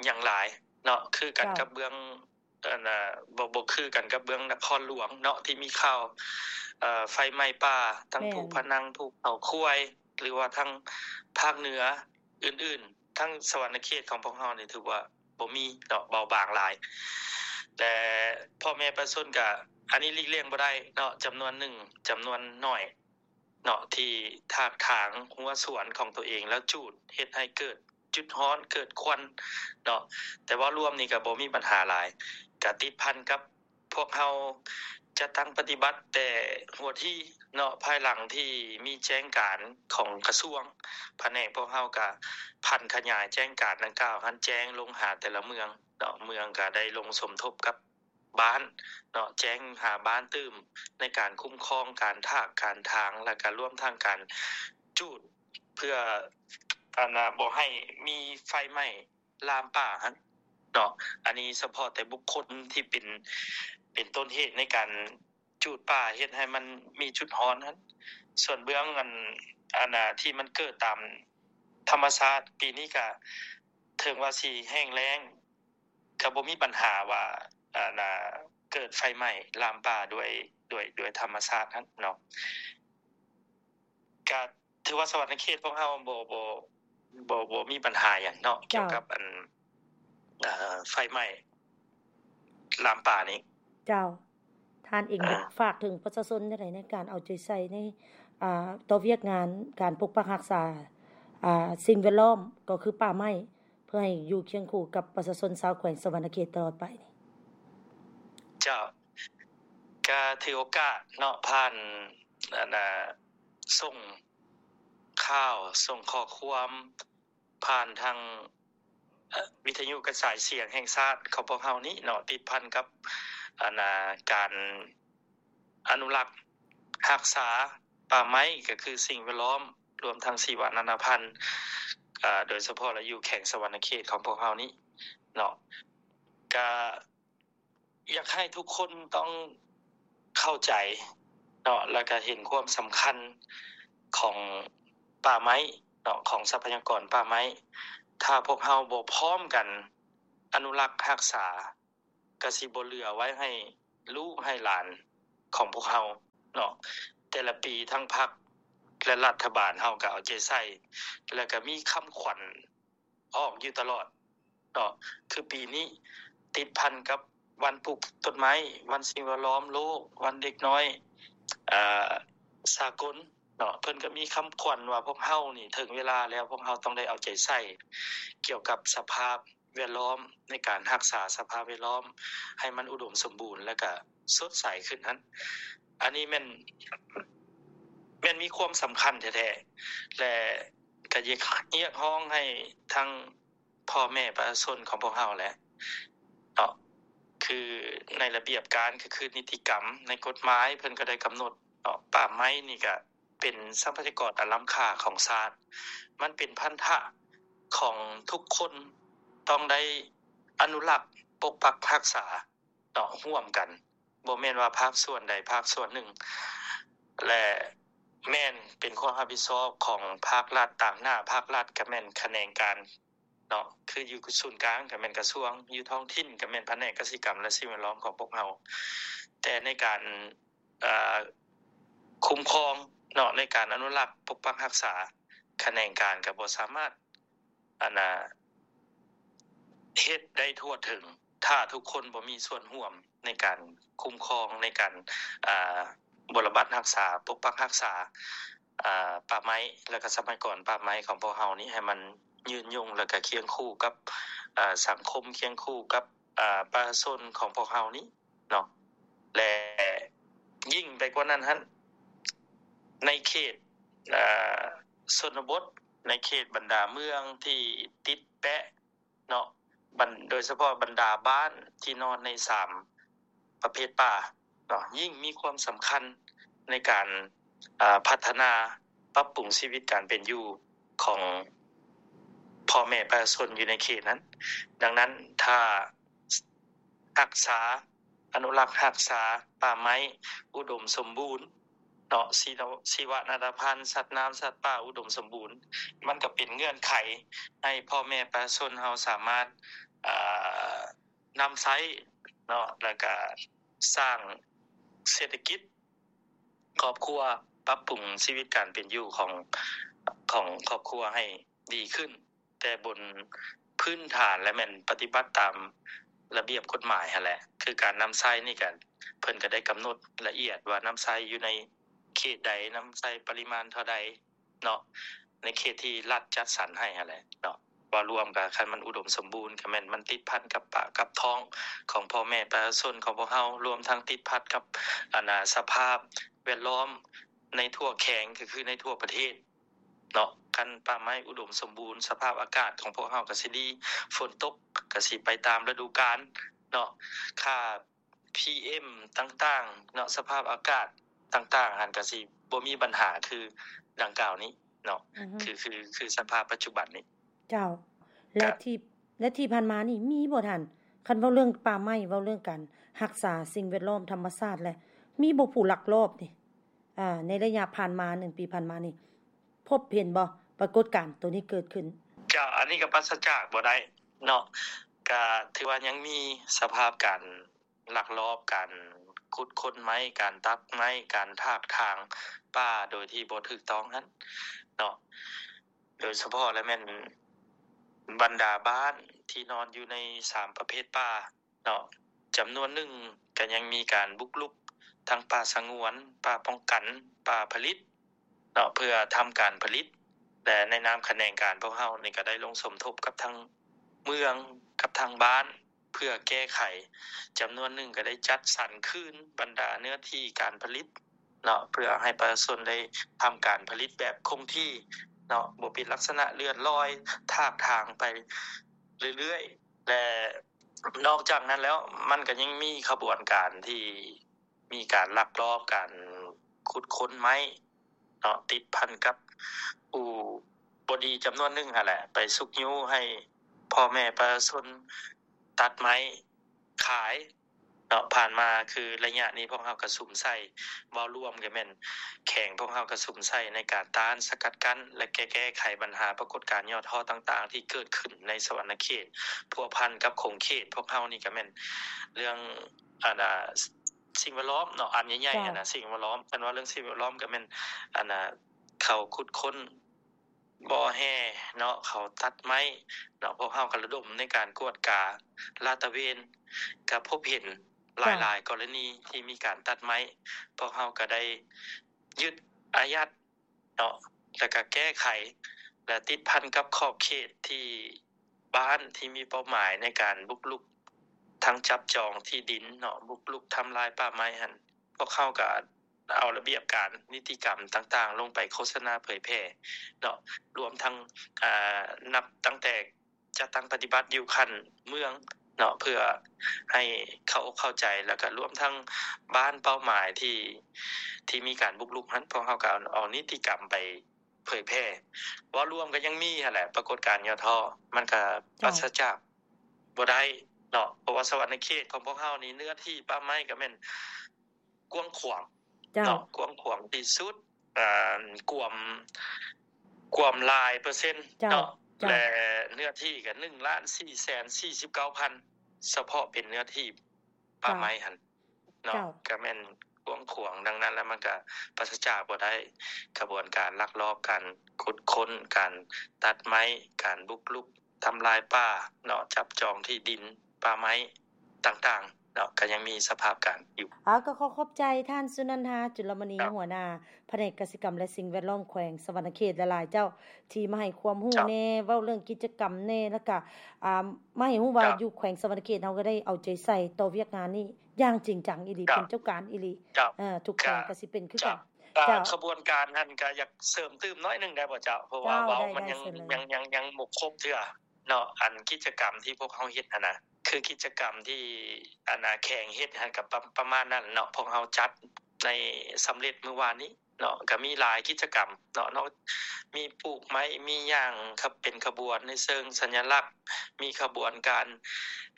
ຫຍັງຫຼາຍເນາະ ຄືກັນ ເຈົ້າ ກັບເບື້ອງ ອັນ ບໍ່ ບໍ່ຄືກັນກັບເບື້ອງນະຄອນຫຼວງເນາະ ທີ່ມີຂ່າວ ເອີ ໄຟໄໝ້ປ່າ ທັງ ແມ່ນ ພູພະນັງ ພູເຂົາຄວາຍ ຫຼືວ່າທາງພາກເໜືອອື່ນໆ. ທາງສະຫວັນນະເຂດຂອງພວກເຮົານີ້ຖືວ່າບໍ່ມີເນາະ ເບົາບາງຫຼາຍ ແຕ່ພໍ່ແມ່ປະຊາຊົນກະ ອັນນີ້ຫຼີກລ່ຽງບໍ່ໄດ້ເນາະ ຈຳນວນໜຶ່ງ ຈຳນວນໜ້ອຍເນາະ ທີ່ຖາກຖາງຮົ້ວສວນຂອງຕົວເອງ ແລ້ວຈູດເຮັດໃຫ້ເກີດຈຸດຮ້ອນ ເກີດຄວັນເນາະ. ແຕ່ເວົ້າລວມນີ້ກະບໍ່ມີບັນຫາຫຼາຍ ກະຕິດພັນກັບ ພວກເຮົາຈັດຕັ້ງປະຕິບັດແຕ່ຫົວທີເນາະ ພາຍຫຼັງທີ່ມີແຈ້ງການຂອງກະຊວງ ພະແນກພວກເຮົາກະຜັນຂະຫຍາຍແຈ້ງການດັ່ງກ່າວຫັ້ນ ແຈ້ງລົງຫາແຕ່ລະເມືອງເນາະ, ເມືອງກະໄດ້ລົງສົມທົບກັບບ້ານເນາະ ແຈ້ງຫາບ້ານຕື່ມໃນການຄຸ້ມຄອງການຖາກການຖາງ ແລ້ວກະລວມທັງການຈູດ ເພື່ອ ອັນນ່າ ບໍ່ໃຫ້ມີໄຟໄໝ້ ລາມປ່າຫັ້ນເນາະ. ອັນນີ້ສະເພາະແຕ່ບຸກຄົນທີ່ເປັນ ເປັນຕົ້ນເຫດໃນການຈູດປ່າ ເຮັດໃຫ້ມັນມີຈຸດຮ້ອນຫັ້ນ. ສ່ວນເບື້ອງອັນ ອັນນ່າ ທີ່ມັນເກີດຕາມທຳມະຊາດ ປີນີ້ກະເຖິງວ່າຊິແຫ້ງແລ້ງ ກະບໍ່ມີບັນຫາວ່າ ອັນນ່າ ເກີດໄຟໄໝ້ລາມປ່າດ້ວຍ ດ້ວຍ ດ້ວຍທຳມະຊາດຫັ້ນເນາະ. ກະ ຖືວ່າສະຫວັນນະເຂດພວກເຮົາບໍ່ ບໍ່ ບໍ່ ບໍ່ມີບັນຫາຫຍັງເນາະ ເຈົ້າ ກ່ຽວກັບອັນ ເອີ ໄຟໄໝ້ລາມປ່ານີ້. ເຈົ້າ ທ່ານເອງ ອ່າ ຢາກຝາກເຖິງປະຊາຊົນຈັ່ງໃດໃນການເອົາໃຈໃສ່ໃນ ອ່າ ຕໍ່ວຽກງານການປົກປັກຮັກສາ ອ່າ ສິ່ງແວດລ້ອມ ກໍຄືປ່າໄມ້ ເພື່ອໃຫ້ຢູ່ຄຽງຄູ່ກັບປະຊາຊົນຊາວແຂວງສະຫວັນນະເຂດຕະຫຼອດໄປນີ້? ເຈົ້າ ກະຖືໂອກາດເນາະ ຜ່ານ ອັນນ່າ ສົ່ງ ຂ່າວ ສົ່ງຂໍ້ຄວາມຜ່ານທາງ ເອີ ວິທະຍຸກະຈາຍສຽງແຫ່ງຊາດຂອງພວກເຮົານີ້ເນາະ ຕິດພັນກັບ ອັນນ່າ ການອະນຸລັກຮັກສາປ່າໄມ້ ກໍຄືສິ່ງແວດລ້ອມ ລວມທັງຊີວະນານາພັນ ເອີ ໂດຍສະເພາະລະຢູ່ແຂວງສະຫວັນນະເຂດຂອງພວກເຮົານີ້ເນາະ ກະ ຢາກໃຫ້ທຸກຄົນຕ້ອງເຂົ້າໃຈເນາະ ແລ້ວກະເຫັນຄວາມສຳຄັນຂອງປ່າໄມ້ເນາະ ຂອງຊັບພະຍາກອນປ່າໄມ້. ຖ້າພວກເຮົາບໍ່ພ້ອມກັນອະນຸລັກຮັກສາ ກະຊິບໍ່ເຫຼືອໄວ້ໃຫ້ລູກໃຫ້ຫຼານຂອງພວກເຮົາເນາະ. ແຕ່ລະປີທັງພັກ ແລະ ລັດຖະບານເຮົາກະເອົາໃຈໃສ່ ແລ້ວກະມີຄຳຂວັນ ອອກຢູ່ຕະຫຼອດເນາະ ຄືປີນີ້ຕິດພັນກັບວັນປູກຕົ້ນໄມ້ ວັນສິ່ງແວດລ້ອມໂລກ ວັນເດັກນ້ອຍ ເອີ ສາກົນເນາະ ເພິ່ນກໍມີຄຳຂວັນວ່າ ພວກເຮົານີ້ເຖິງເວລາແລ້ວ ພວກເຮົາຕ້ອງໄດ້ເອົາໃຈໃສ່ກ່ຽວກັບສະພາບແວດລ້ອມ ໃນການຮັກສາສະພາບແວດລ້ອມໃຫ້ມັນອຸດົມສົມບູນ ແລ້ວກະສົດໃສຂຶ້ນຫັ້ນ. ອັນນີ້ແມ່ນ ແມ່ນມີຄວາມສຳຄັນແທ້ໆ ແລະ ກະຢາກຮຽກຮ້ອງໃຫ້ທັງພໍ່ແມ່ປະຊາຊົນຂອງພວກເຮົາແຫຼະເນາະ ຄືໃນລະບຽບການ ກໍຄືນິຕິກຳ ໃນກົດໝາຍເພິ່ນກໍໄດ້ກຳນົດເນາະ ປ່າໄມ້ນີ້ກະ ເປັນຊັບພະຍາກອນອັນລ້ຳຄ່າຂອງຊາດ. ມັນເປັນພັນທະຂອງທຸກຄົນ ຕ້ອງໄດ້ອະນຸລັກ ປົກປັກຮັກສາເນາະ ຮ່ວມກັນ. ບໍ່ແມ່ນວ່າພາກສ່ວນໃດພາກສ່ວນໜຶ່ງ ແລະ ແມ່ນເປັນຄວາມຮັບຜິດຊອບຂອງພາກລັດ. ຕາງໜ້າພາກລັດກໍແມ່ນຂະແໜງການເນາະ ຄືຢູ່ສູນກາງກໍແມ່ນກະຊວງ, ຢູ່ທ້ອງຖິ່ນກໍແມ່ນພະແນກກະສິກຳ ແລະ ສິ່ງແວດລ້ອມຂອງພວກເຮົາ. ແຕ່ໃນການ ເອີ ຄຸ້ມຄອງເນາະ ໃນການອະນຸລັກ ປົກປັກຮັກສາ ຂະແໜງການກໍບໍ່ສາມາດ ອັນນ່າ ເຮັດໄດ້ທົ່ວເຖິງ ຖ້າທຸກຄົນບໍ່ມີສ່ວນຮ່ວມໃນການຄຸ້ມຄອງ ໃນການ ອ່າ ບົວລະບັດຮັກສາ ປົກປັກຮັກສາ ອ່າ ປ່າໄມ້ ແລະ ກໍຊັບພະຍາກອນປ່າໄມ້ຂອງພວກເຮົານີ້ ໃຫ້ມັນຍືນຍົງ ແລະ ກໍຄຽງຄູ່ກັບ ເອີ ສັງຄົມ ຄຽງຄູ່ກັບ ອ່າ ປະຊາຊົນຂອງພວກເຮົານີ້ເນາະ. ແລະ ຍິ່ງໄປກວ່ານັ້ນຫັ້ນ ໃນເຂດ ເອີ ຊົນນະບົດ ໃນເຂດບັນດາເມືອງທີ່ຕິດແປະເນາະ ບັນ ໂດຍສະເພາະບັນດາບ້ານທີ່ນອນໃນສາມປະເພດປ່າເນາະ ຍິ່ງມີຄວາມສຳຄັນໃນການ ເອີ ພັດທະນາປັບປຸງຊີວິດການເປັນຢູ່ຂອງພໍ່ແມ່ປະຊາຊົນຢູ່ໃນເຂດນັ້ນ. ດັ່ງນັ້ນ ຖ້າຮັກສາ ອະນຸລັກຮັກສາປ່າໄມ້ອຸດົມສົມບູນເນາະ ຊີວະ ຊີວະນານາພັນ ສັດນ້ຳສັດປ່າອຸດົມສົມບູນ ມັນກໍເປັນເງື່ອນໄຂໃຫ້ພໍ່ແມ່ປະຊາຊົນເຮົາສາມາດ ເອີ ນຳໃຊ້ເນາະ ແລ້ວກະສ້າງເສດຖະກິດຄອບຄົວ ປັບປຸງຊີວິດການເປັນຢູ່ຂອງ ຂອງຄອບຄົວໃຫ້ດີຂຶ້ນ ແຕ່ບົນພື້ນຖານ ແລະ ແມ່ນປະຕິບັດຕາມລະບຽບກົດໝາຍຫັ້ນແຫຼະ. ຄືການນຳໃຊ້ນີ້ກະ ເພິ່ນກະໄດ້ກຳນົດລະອຽດວ່ານຳໃຊ້ຢູ່ໃນເຂດໃດ ນຳໃຊ້ປະລິມານເທົ່າໃດ ເນາະ ໃນເຂດທີ່ລັດຈັດສັນໃຫ້ຫັ້ນແຫຼະເນາະ. ເວົ້າລວມກໍ ຄັນມັນອຸດົມສົມບູນ ກໍແມ່ນມັນຕິດພັນກັບປາກກັບທ້ອງຂອງພໍ່ແມ່ປະຊາຊົນຂອງພວກເຮົາ, ລວມທັງຕິດພັນກັບ ອັນນ່າ ສະພາບແວດລ້ອມໃນທົ່ວແຂວງ ກໍຄືໃນທົ່ວປະເທດເນາະ. ຄັນປ່າໄມ້ອຸດົມສົມບູນ ສະພາບອາກາດຂອງພວກເຮົາກໍຊິດີ, ຝົນຕົກກໍຊິໄປຕາມລະດູການເນາະ, ຄ່າ ພີເອັມ ຕ່າງໆເນາະ, ສະພາບອາກາດຕ່າງໆຫັ້ນກໍຊິບໍ່ມີບັນຫາຄືດັ່ງກ່າວນີ້ເນາະ. ອືຮຶ ຄື ຄື ຄືສະພາບປັດຈຸບັນນີ້. ເຈົ້າ. ແລະ ທີ່ ແລະ ທີ່ຜ່ານມານີ້ມີບໍ່ທ່ານ? ຄັນເວົ້າເລື່ອງປ່າໄມ້, ເວົ້າເລື່ອງການຮັກສາສິ່ງແວດລ້ອມທຳມະຊາດ ແລະ ມີບໍ່ຜູ້ລັກລອບນີ້? ອາ ໃນໄລຍະຜ່ານມາ ໜຶ່ງປີຜ່ານມານີ້ ພົບເຫັນບໍ່ປາກົດການໂຕນີ້ເກີດຂຶ້ນ? ເຈົ້າ, ອັນນີ້ກໍປາສະຈາກບໍ່ໄດ້ເນາະ, ກໍຖືວ່າຍັງມີສະພາບການ ລັກລອບການຂຸດຄົ້ນໄມ້, ການຕັດໄມ້, ການຖາກຖາງປ່າໂດຍທີ່ບໍ່ຖືກຕ້ອງຫັ້ນເນາະ, ໂດຍສະເພາະແລ້ວແມ່ນບັນດາບ້ານທີ່ນອນຢູ່ໃນສາມປະເພດປ່າເນາະ, ຈຳນວນໜຶ່ງກໍຍັງມີການບຸກລຸກທັງປ່າສະຫງວນ, ປ່າປ້ອງກັນ, ປ່າຜະລິດ ເນາະ ເພື່ອທຳການຜະລິດ ແລະ ໃນນາມຂະແໜງການພວກເຮົານີ້ກໍໄດ້ລົງສົມທົບກັບທາງເມືອງ ກັບທາງບ້ານ ເພື່ອແກ້ໄຂ. ຈຳນວນໜຶ່ງກໍໄດ້ຈັດສັນຄືນບັນດາເນື້ອທີ່ການຜະລິດເນາະ ເພື່ອໃຫ້ປະຊາຊົນໄດ້ທຳການຜະລິດແບບຄົງທີ່ເນາະ, ບໍ່ເປັນລັກສະນະເລື່ອນລອຍ ຖາກຖາງໄປເລື້ອຍໆ ແລະ ນອກຈາກນັ້ນແລ້ວ ມັນກໍຍັງມີຂະບວນການທີ່ ມີການລັກລອບການຂຸດຄົ້ນໄມ້ເນາະ, ຕິດພັນກັບອູ່ບໍ່ດີຈຳນວນໜຶ່ງຫັ້ນແຫຼະ ໄປຊຸກຍູ້ໃຫ້ພໍ່ແມ່ປະຊາຊົນຕັດໄມ້ຂາຍເນາະ. ຜ່ານມາຄືໄລຍະນີ້ພວກເຮົາກະສຸມໃສ່ ເວົ້າລວມກະແມ່ນແຂວງພວກເຮົາກະສຸມໃສ່ໃນການຕ້ານສະກັດກັ້ນ ແລະ ແກ້ ແກ້ໄຂບັນຫາປາກົດການຫຍໍ້ທໍ້ຕ່າງໆທີ່ເກີດຂຶ້ນໃນສະຫວັນນະເຂດ ພົວພັນກັບຂົງເຂດພວກເຮົານີ້ກະແມ່ນເລື່ອງ ອັນນ່າ ສິ່ງແວດລ້ອມເນາະ ອັນໃຫຍ່ໆ ເຈົ້າ ຫັ້ນນະ ສິ່ງແວດລ້ອມ. ຄັນວ່າເລື່ອງສິ່ງແວດລ້ອມກໍແມ່ນ ອັນນ່າ ເຂົາຂຸດຄົ້ນບໍ່ແຮ່ເນາະ, ເຂົາຕັດໄມ້ເນາະ, ພວກເຮົາກໍລະດົມໃນການກວດກາລາດຕະເວນ ກໍພົບເຫັນຫຼາຍໆ ເຈົ້າ ກໍລະນີທີ່ມີການຕັດໄມ້, ພວກເຮົາກໍໄດ້ຍຶດອາຍັດ ເນາະ ແລ້ວກະແກ້ໄຂ ແລະ ຕິດພັນກັບຂອບເຂດທີ່ບ້ານທີ່ມີເປົ້າໝາຍໃນການບຸກລຸກ ທັງຈັບຈອງທີ່ດິນເນາະ, ບຸກລຸກທຳລາຍປ່າໄມ້ຫັ້ນ ພວກເຮົາກະເອົາລະບຽບການນິຕິກຳຕ່າງໆ ລົງໄປໂຄສະນາເຜີຍແຜ່ເນາະ, ລວມທັງ ອາ ນັບຕັ້ງແຕ່ ຈັດຕັ້ງປະຕິບັດຢູ່ຂັ້ນເມືອງ ເນາະ ເພື່ອໃຫ້ເຂົາອົກເຂົ້າໃຈ ແລ້ວກໍລວມທັງບ້ານເປົ້າໝາຍທີ່ ທີ່ມີການບຸກລຸກຫັ້ນ ພວກເຮົາກໍເອົາ ເອົານິຕິກຳໄປເຜີຍແຜ່. ເວົ້າລວມກໍຍັງມີຫັ້ນແຫຼະ ປາກົດການຫຍໍ້ທໍ້ ມັນກໍປາສະຈາກບໍ່ໄດ້ເນາະ ເພາະວ່າສະຫວັນນະເຂດຂອງພວກເຮົານີ້ ເນື້ອທີ່ປ່າໄມ້ກໍແມ່ນກວ້າງຂວາງເນາະ ກວ້າງຂວາງທີ່ສຸດ ອາ ກວມ ກວມຫຼາຍເປີເຊັນເນາະ ແລະ ເນື້ອທີ່ກໍໜຶ່ງລ້ານສີ່ແສນສີ່ສິບເກົ້າພັນ ສະເພາະເປັນເນື້ອທີ່ປ່າໄມ້ຫັ້ນເນາະ ກໍແມ່ນກວ້າງຂວາງ. ດັ່ງນັ້ນແລ້ວ ມັນກໍປາສະຈາກບໍ່ໄດ້ຂະບວນການລັກລອບ ການຂຸດຄົ້ນ ການຕັດໄມ້ ການບຸກລຸກ ທຳລາຍປ່າເນາະ ຈັບຈອງທີ່ດິນປ່າໄມ້ຕ່າງໆເນາະ ກໍຍັງມີສະພາບການຢູ່. ເອົາ ກໍຂໍຂອບໃຈທ່ານ ສຸນັນທາ ຈຸລະມະນີ ຫົວໜ້າພະແນກກະສິກຳ ແລະ ສິ່ງແວດລ້ອມ ແຂວງສະຫວັນນະເຂດຫຼາຍໆ ເຈົ້າ ທີ່ມາໃຫ້ຄວາມຮູ້ແດ່ ເວົ້າເລື່ອງກິດຈະກຳແດ່ ແລ້ວກະ ອາ ມາໃຫ້ຮູ້ວ່າຢູ່ແຂວງສະຫວັນນະເຂດເຮົາກໍໄດ້ເອົາໃຈໃສ່ຕໍ່ວຽກງານນີ້ຢ່າງຈິງຈັງອີ່ຫຼີ ເປັນເຈົ້າການອີ່ຫຼີ ເອີ ທຸກແຂວງກໍຊິເປັນຄືກັນ. ຂະບວນການຫັ້ນກໍຢາກເສີມຕື່ມໜ້ອຍໜຶ່ງໄດ້ບໍ່ເຈົ້າ? ເພາະວ່າເວົ້າມັນຍັງ ຍັງ ຍັງ ຍັງບໍ່ຄົບເທື່ອເນາະ ອັນກິດຈະກຳທີ່ພວກເຮົາເຮັດຫັ້ນນະ ຄືກິດຈະກຳທີ່ ອັນນາ ແຂວງເຮັດຫັ້ນກໍປະ ປະມານນັ້ນເນາະ ພວກເຮົາຈັດໃນ ສຳເລັດມື້ວານນີ້ເນາະ ກໍມີຫຼາຍກິດຈະກຳເນາະ ເນາະ ມີປູກໄມ້ ມີຫຍັງ ເປັນຂະບວນໃນເຊີງສັນຍະລັກ ມີຂະບວນການ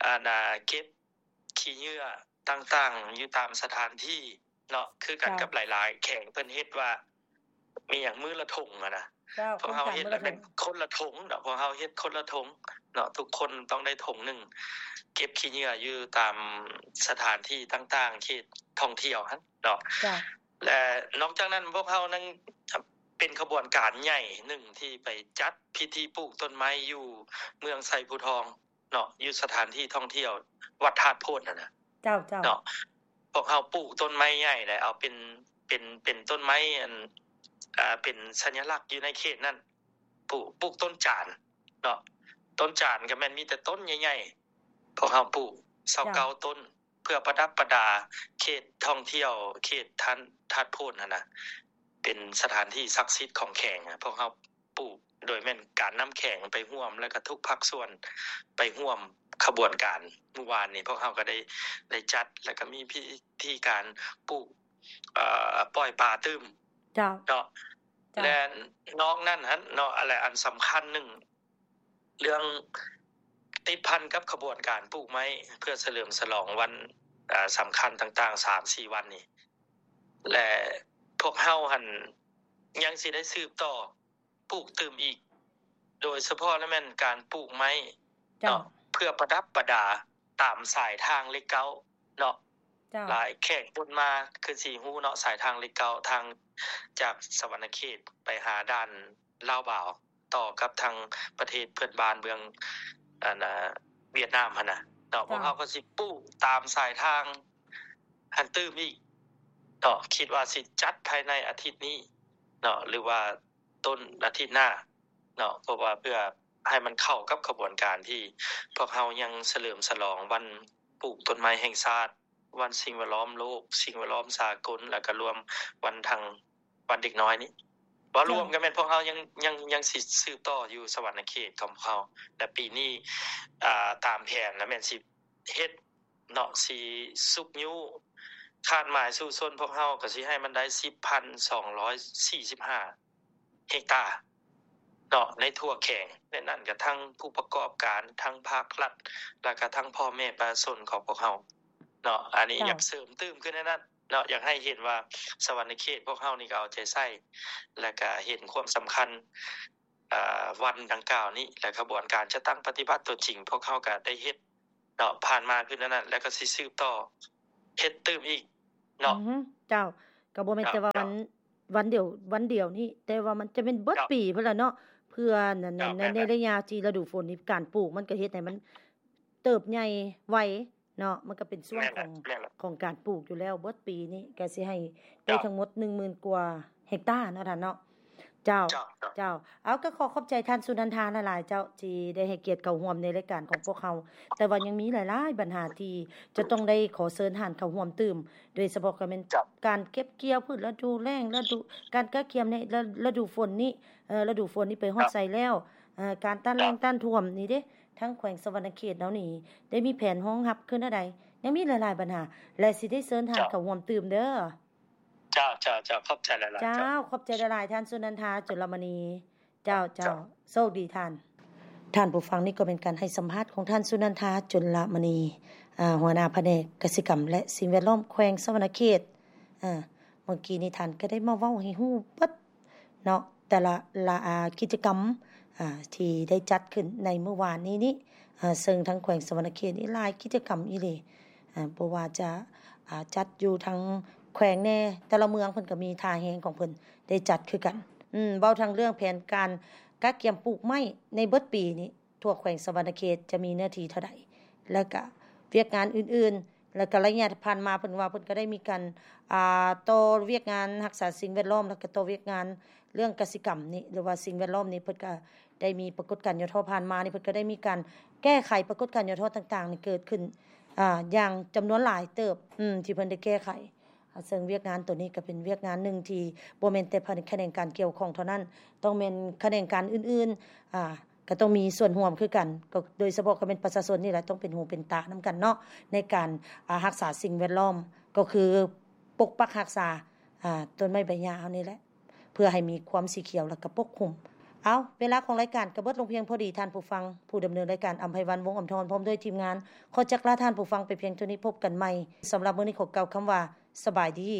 ອັນນາ ເກັບ ຂີ້ເຫຍື້ອຕ່າງໆ ຢູ່ຕາມສະຖານທີ່ເນາະ ຄືກັນກັບຫຼາຍໆແຂວງ ເພິ່ນເຮັດວ່າມີຫຍັງມື້ລະຖົງຫັ້ນນະ ພວກເຮົາເຮັດລະແມ່ນຄົນລະຖົງເນາະ ພວກເຮົາເຮັດຄົນລະຖົງເນາະ ທຸກຄົນຕ້ອງໄດ້ຖົງໜຶ່ງ ເກັບຂີ້ເຫຍື້ອຢູ່ຕາມສະຖານທີ່ຕ່າງໆ ເຂດທ່ອງທ່ຽວຫັ້ນເນາະ ແລະ ນອກຈາກນັ້ນ ພວກເຮົາຍັງເປັນຂະບວນການໃຫຍ່ໜຶ່ງທີ່ໄປຈັດພິທີປູກຕົ້ນໄມ້ຢູ່ເມືອງໄຊພູທອງ ເນາະ ຢູ່ສະຖານທີ່ທ່ອງທ່ຽວວັດທາດໂພນຫັ້ນນະ ເຈົ້າ ເຈົ້າ ເນາະ ພວກເຮົາປູກຕົ້ນໄມ້ໃຫຍ່ ແລະ ເອົາເປັນ ເປັນ ເປັນຕົ້ນໄມ້ ອັນ ອ່າ ເປັນສັນຍະລັກຢູ່ໃນເຂດນັ້ນ ປູກ ປູກຕົ້ນຈານເນາະ ຕົ້ນຈານກໍແມ່ນມີແຕ່ຕົ້ນໃຫຍ່ໆ ພວກເຮົາປູກຊາວເກົ້າຕົ້ນ ເພື່ອປະດັບປະດາເຂດທ່ອງທ່ຽວ ເຂດທ່ານ ທາດໂພນຫັ້ນນະ ເປັນສະຖານທີ່ສັກສິດຂອງແຂວງ ພວກເຮົາ ປູກ ໂດຍແມ່ນການນຳແຂວງໄປຮ່ວມ ແລ້ວກໍທຸກພາກສ່ວນໄປຮ່ວມຂະບວນການ. ມື້ວານນີ້ພວກເຮົາກໍໄດ້ ໄດ້ຈັດ ແລ້ວກໍມີພິທີການປູກ ເອີ ປ່ອຍປາຕື່ມ ເຈົ້າ ເນາະ ເຈົ້າ ແລະ ນອກນັ້ນຫັ້ນເນາະ ອັນ ແລະ ອັນສຳຄັນໜຶ່ງ ເລື່ອງຕິດພັນກັບຂະບວນການປູກໄມ້ ເພື່ອສະເຫຼີມສະຫຼອງວັນ ເອີ ສຳຄັນຕ່າງໆ ສາມສີ່ວັນນີ້ ແລະ ພວກເຮົາຫັ້ນຍັງຊິໄດ້ສືບຕໍ່ ປູກຕື່ມອີກ ໂດຍສະເພາະລະແມ່ນການປູກໄມ້ເນາະ ເພື່ອປະດັບປະດາຕາມສາຍທາງເລກເກົ້າເນາະ ຫຼາຍແຂກຄົນມາຄືຊິຮູ້ເນາະ ສາຍທາງເລກເກົ້າ ທາງຈາກສະຫວັນນະເຂດໄປຫາດ່ານລາວບາວ ຕໍ່ກັບທາງປະເທດເພື່ອນບ້ານເມືອງ ອັນນາ ຫວຽດນາມຫັ້ນນະເນາະ ພວກເຮົາກໍຊິປູກຕາມສາຍທາງຫັ້ນຕື່ມອີກເນາະ ຄິດວ່າຊິຈັດພາຍໃນອາທິດນີ້ເນາະ ຫຼືວ່າ ຕົ້ນອາທິດໜ້າເນາະ ເພາະວ່າເພື່ອໃຫ້ມັນເຂົ້າກັບຂະບວນການທີ່ພວກເຮົາຍັງສະເຫຼີມສະຫຼອງວັນປູກຕົ້ນໄມ້ແຫ່ງຊາດ, ວັນສິ່ງແວດລ້ອມໂລກ, ສິ່ງແວດລ້ອມສາກົນ ແລ້ວກະລວມວັນທາງ ວັນເດັກນ້ອຍນີ້. ເວົ້າລວມກໍແມ່ນພວກເຮົາຍັງ ຍັງ ຍັງຊິສືບຕໍ່ຢູ່ສະຫວັນນະເຂດຂອງພວກເຮົາ ແລະ ປີນີ້ ອາ ຕາມແຜນລະແມ່ນຊິເຮັດ ເນາະ ຊິຊຸກຍູ້ຄາດໝາຍສູ້ຊົນພວກເຮົາກໍຊິໃຫ້ມັນໄດ້ສິບພັນສອງຮ້ອຍສີ່ສິບຫ້າເຮັກຕາເນາະ ໃນທົ່ວແຂວງ ໃນນັ້ນກໍທັງຜູ້ປະກອບການ ທັງພາກລັດ ແລ້ວກໍທັງພໍ່ແມ່ປະຊາຊົນຂອງພວກເຮົາເນາະ. ອັນນີ້ຢາກເສີມຕື່ມຂຶ້ນໃນນັ້ນເນາະ ຢາກໃຫ້ເຫັນວ່າສະຫວັນນະເຂດພວກເຮົານີ້ກໍເອົາໃຈໃສ່ ແລ້ວກໍເຫັນຄວາມສຳຄັນ ອາ ວັນດັ່ງກ່າວນີ້ ແລະ ຂະບວນການຈັດຕັ້ງປະຕິບັດຕົວຈິງ ພວກເຮົາກໍໄດ້ເຮັດເນາະ ຜ່ານມາຄືແນວນັ້ນ ແລ້ວກໍຊິສືບຕໍ່ເຮັດຕື່ມອີກເນາະ. ອື ເຈົ້າ ກໍບໍ່ແມ່ນແຕ່ວ່າວັນ ວັນດຽວ ວັນດຽວນີ້ ແຕ່ວ່າມັນຈະແມ່ນເບິດປີພຸ້ນລະເນາະ ເພື່ອໃນ ໃນ ໃນໄລຍະທີ່ລະດູຝົນນີ້ ການປູກມັນກໍເຮັດໃຫ້ມັນເຕີບໃຫຍ່ໄວ ເນາະ ມັນກໍເປັນຊ່ວງຂອງ ຂອງການປູກຢູ່ແລ້ວ ເບິດປີນີ້ກໍຊິໃຫ້ໄດ້ທັງໝົດໜຶ່ງໝື່ນກວ່າເຮັກຕາເນາະທ່ານເນາະ. ເຈົ້າ ເຈົ້າ ເຈົ້າ ເອົາ ກໍຂໍຂອບໃຈທ່ານສຸນັນທາຫຼາຍໆ ເຈົ້າ ທີ່ໄດ້ໃຫ້ກຽດເຂົ້າຮ່ວມໃນລາຍການຂອງພວກເຮົາ ແຕ່ວ່າຍັງມີຫຼາຍໆບັນຫາທີ່ຈະຕ້ອງໄດ້ຂໍເຊີນທ່ານເຂົ້າຮ່ວມຕື່ມ ໂດຍສະເພາະກໍແມ່ນການເກັບກ່ຽວພືດລະດູແລ້ງ ລະດູ ການກະກຽມໃນລະ ລະດູຝົນນີ້ ເອີ ລະດູຝົນນີ້ໄປຮອດໃສແລ້ວ ເອີ ການຕ້ານແລ້ງຕ້ານຖ້ວມນີ້ເດ້ ທາງແຂວງສະຫວັນນະເຂດເຮົານີ້ ໄດ້ມີແຜນຮອງຮັບຄືແນວໃດ? ຍັງມີຫຼາຍໆບັນຫາ ແລະ ຊິໄດ້ເຊີນທ່ານເຂົ້າຮ່ວມຕື່ມເດີ້. ເຈົ້າ ເຈົ້າ ເຈົ້າ ຂອບໃຈຫຼາຍໆ ເຈົ້າ ເຈົ້າ ຂອບໃຈຫຼາຍໆ ທ່ານສຸນັນທາ ຈຸລະມະນີ. ເຈົ້າ ເຈົ້າ ເຈົ້າ ໂຊກດີທ່ານ. ທ່ານຜູ້ຟັງ ນີ້ກໍເປັນການໃຫ້ສຳພາດຂອງທ່ານສຸນັນທາ ຈຸລະມະນີ ອາ ຫົວໜ້າພະແນກກະສິກຳ ແລະ ສິ່ງແວດລ້ອມ ແຂວງສະຫວັນນະເຂດ. ອາ ເມື່ອກີ້ນີ້ທ່ານກໍໄດ້ມາເວົ້າໃຫ້ຮູ້ເບິດເນາະ ແຕ່ລະ ລະ ອາ ກິດຈະກຳ ອາ ທີ່ໄດ້ຈັດຂຶ້ນໃນມື້ວານນີ້ນີ້ ອາ ເຊິ່ງທາງແຂວງສະຫວັນນະເຂດນີ້ຫຼາຍກິດຈະກຳອີ່ຫຼີ ອາ ບໍ່ວ່າຈະ ອາ ຈັດຢູ່ທາງແຂວງແດ່ ແຕ່ລະເມືອງເພິ່ນກໍມີທ່າແຮງຂອງເພິ່ນໄດ້ຈັດຄືກັນ. ອືມ ເວົ້າທັງເລື່ອງແຜນການກະກຽມປູກໄມ້ໃນເບິດປີນີ້ ທົ່ວແຂວງສະຫວັນນະເຂດຈະມີເນື້ອທີ່ເທົ່າໃດ ແລ້ວກະວຽກງານອື່ນໆ ແລ້ວກະໄລຍະຜ່ານມາເພິ່ນວ່າເພິ່ນກໍໄດ້ມີການ ອ່າ ຕໍ່ວຽກງານຮັກສາສິ່ງແວດລ້ອມ ແລ້ວກະຕໍ່ວຽກງານເລື່ອງກະສິກຳນີ້ ຫຼືວ່າສິ່ງແວດລ້ອມນີ້ ເພິ່ນກະໄດ້ມີປາກົດການຫຍໍ້ທໍ້ ຜ່ານມານີ້ເພິ່ນກະໄດ້ມີການແກ້ໄຂປາກົດການຫຍໍ້ທໍ້ຕ່າງໆນີ້ເກີດຂຶ້ນ ອ່າ ຢ່າງຈຳນວນຫຼາຍເຕີບ ອືມ ທີ່ເພິ່ນໄດ້ແກ້ໄຂ. ອາ ເຊິ່ງວຽກງານໂຕນີ້ກໍເປັນວຽກງານໜຶ່ງທີ່ບໍ່ແມ່ນແຕ່ພາຍໃນຂະແໜງການກ່ຽວຂ້ອງເທົ່ານັ້ນ ຕ້ອງແມ່ນຂະແໜງການອື່ນໆ ອາ ກໍຕ້ອງມີສ່ວນຮ່ວມຄືກັນ ກໍໂດຍສະເພາະກໍແມ່ນປະຊາຊົນນີ້ແຫຼະ ຕ້ອງເປັນຫູເປັນຕານຳກັນເນາະ ໃນການ ອາ ຮັກສາສິ່ງແວດລ້ອມ ກໍຄືປົກປັກຮັກສາ ອາ ຕົ້ນໄມ້ໃບຫຍ້າເຮົານີ້ແຫຼະ ເພື່ອໃຫ້ມີຄວາມສີຂຽວ ແລ້ວກໍປົກຄຸມ. ເອົາ ເວລາຂອງລາຍການກໍເບິດລົງພຽງພໍດີ ທ່ານຜູ້ຟັງ. ຜູ້ດຳເນີນລາຍການ ອຳໄພວັນ ວົງອຳທອນ ພ້ອມດ້ວຍທີມງານ ຂໍຈັກລາທ່ານຜູ້ຟັງໄປພຽງເທົ່ານີ້. ພົບກັນໃໝ່. ສຳລັບມື້ນີ້ຂໍກ່າວຄຳວ່າ ສະບາຍດີ.